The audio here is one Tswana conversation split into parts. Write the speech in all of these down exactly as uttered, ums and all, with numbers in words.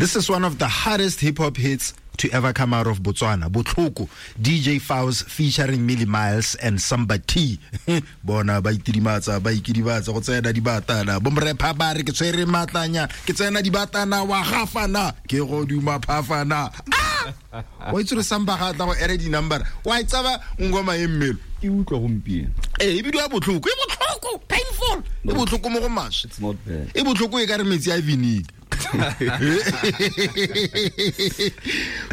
This is one of the hardest hip hop hits to ever come out of Botswana. Botlhoko, D J Faus featuring Millie Miles and Samba T. Bona ba itidimatsa, ba ikidibatsa go tsena dibatana. Bomrepha ba re ke tshwere matlanya, ke tsena dibatana wa gafana, ke go duma phafana. Ah! Wa itse re Samba ga tla go ere di number. Wa itsaba ngoma e mmelo. Ke utlwa gompieno. Eh, e bidiwa Botlhoko, e botlhoko, painful. E botlhoko mo go maswe. It's not bad. E botlhoko e ka re metsi a vinegar.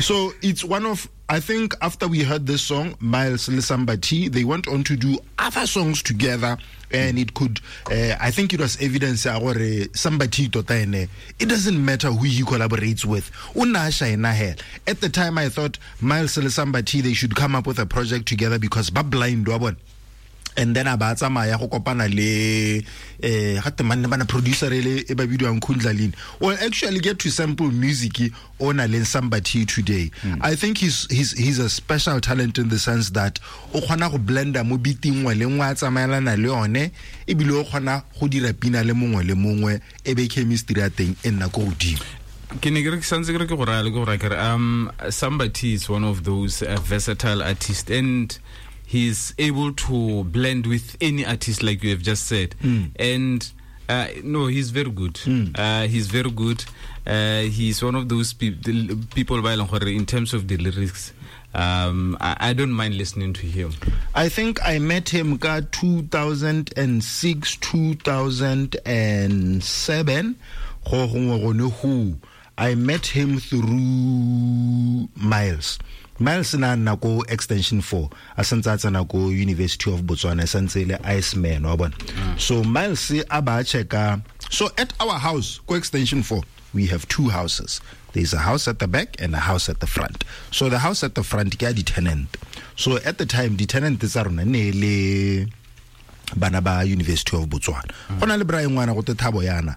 So it's one of, I think after we heard this song, Miles le Samba T, they went on to do other songs together, and it could uh, I think it was evidence ya gore Samba T tota ene, it doesn't matter who he collaborates with, o nna a shine hela. At the time I thought Miles le Samba T, they should come up with a project together because ba blind wa bona. And then a ba tsamaya go kopana le eh ga temanne bana producer ele e ba bidiwang Kundlalini. Well, actually get to sample music o na le Samba T today. mm. I think he's he's he's a special talent in the sense that o kgona go blenda mo beating nngwe le nngwe a tsamaelana le yone, ebile o kgona go dira pina le mongwe le mongwe e be chemistry ya teng e nna ko godimo. Ke ne ke re ke santse ke re ke go raya le ke go raya ke re um Samba T is one of those uh, versatile artists, and he's able to blend with any artist, like you have just said. Mm. And uh, no, he's very good. Mm. Uh, he's very good. Uh, he's one of those pe- the people ba e leng gore in terms of the lyrics, um, I, I don't mind listening to him. I think I met him ka two thousand six, two thousand seven go gongwe gone go. I met him through Miles. Miles na nna ko Extension four a santse a tsena ko University of Botswana, e santse e le Iceman wa bona. So Miles a ba checka. So at our house ko Extension four, we have two houses. There's a house at the back and a house at the front. So the house at the front ke ya di-tenant. So at the time di-tenant tsa rona ne le bana ba University of Botswana. Go na le bra ngwana go te Thabo yana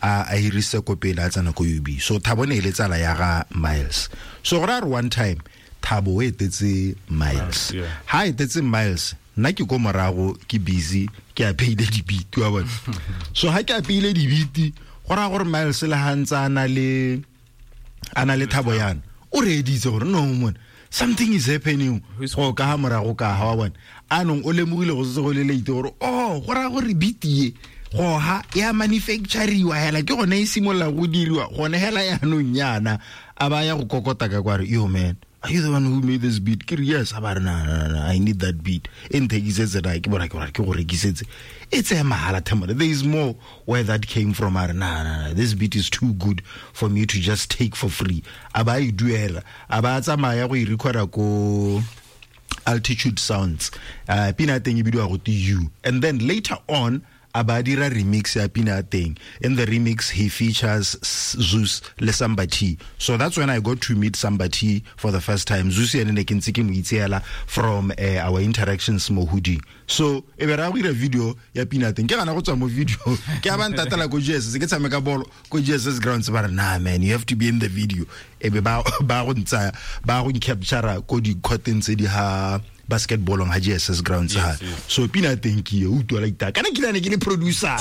a a hirise ko pele a tsena ko U B. So Thabo ne e le tsala ya ga Miles. So go ra re one time Thabo o etetse Miles. Yeah. Ha etetse Miles, nna ke ko morago, ke busy ke apeile dibiti wa bona. So ha ke apeile dibiti, go raya gore Miles le ha ntse a na le a na le Thabo yana, o reeditse gore no mon, something is happening go ka ha morago ka ha wa bona. Anong o lemogile go setse go le late gore oh, go raya gore beat ye go ha ya manufacturiwa hela, ke gone e simolola go diriwa gone hela yaanong yana. A ba ya go kokota ka kware, "Yo man, are you the one who made this beat?" Ke re, "Yes." A ba re, na na na, I need that beat, e nthekisetse." Na ke bona ke gore ke go rekisetse e tseye mahala themole. There is more where that came from. A re, na na na, this beat is too good for me to just take for free." A ba e duela, a ba tsamaya go e recorda ko Altitude Sounds. uh, pina ya teng e bidiwa go te You, and then later on a ba dira remix ya pina ya teng. In the remix he features Zeus le Samba T. So that's when I got to meet Samba T for the first time. Zeus ene ne ke ntse ke mo itseela from uh, our interactions mo hoodie. So e be ra go dira video ya pina ya teng, ke gana go tswa mo video ke a ba ntatela ko G S S, ke tshameka bolo ko G S S grounds. Ba re, "Nah man, you have to be in the video." E be ba ba go ntsaya, ba go capture ko di-courteng tse di ha basketballong ha G S S grounds ha. Yes, yes. So pina ya teng ke e utlwa like that kana ke ne ke le producer.